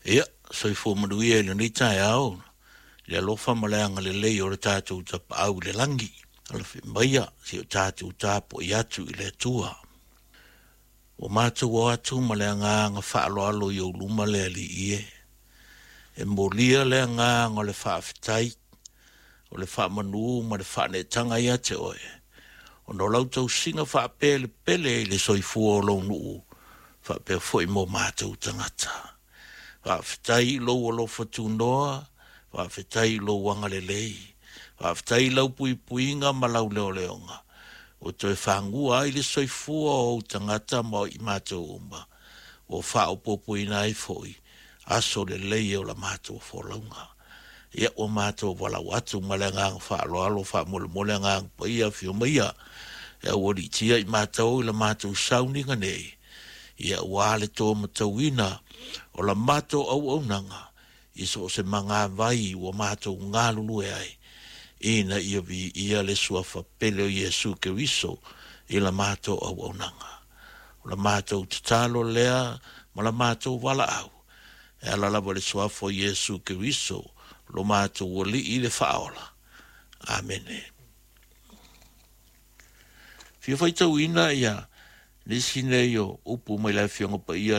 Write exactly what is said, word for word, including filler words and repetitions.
Ia, soifua manuia i lenei taeao, le alofa ma le agalelei o le tatou Tapaau i le lagi. Alafi maia si o tatou tapuai atu i le Atua. Ua matou o atu ma le agaga faaaloalo i ou luma le Alii e. E molia le agaga o le faafetai, o le faamanu ma le faaneetaga ia te oe, ona o lau tausiga faapelepele i le soifua o lou nuu, faapea foi mo matou tagata. Faafetai i lou alofa tunoa, faafetai i lou agalelei, faafetai i lau puipuiga ma lau leoleoga, ua toe fagua ai le soifua o ou tagata ma i matou uma, ua faaopoopoina ai foi aso lelei o la matou folauga. Ia, ua matou valaau atu ma le agaga faaaloalo, faamolemole Agaga Paia, afio maia e aualiitia i matou i la matou sauniga nei, ia ua le to matauina o la matou auaunaga i so o se magavai ua matou galulue ai, ina ia viia le suafa pele o Iesu Keriso i la matou auaunaga. O la matou tatalo lea ma la matou valaau, e ala lava i le suafa o Iesu Keriso, lo matou Alii le Faaola. Amene. Fia faitauina ia nisi nei o upu mai le Afioga Paia.